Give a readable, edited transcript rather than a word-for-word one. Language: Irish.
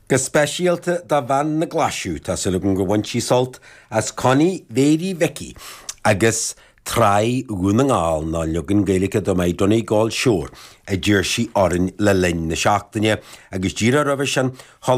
Go speisialta do bhean na Glaisiú, tá súil agam gur bhain sí sult as Connie Mhéirí Mhicí agus Traigh Dhún na nGall, nó an leagan Gaeilge de My Donegal Shore a d'iarr sí orainn le linn na seachtaine agus díreach roimhe sin, chuala.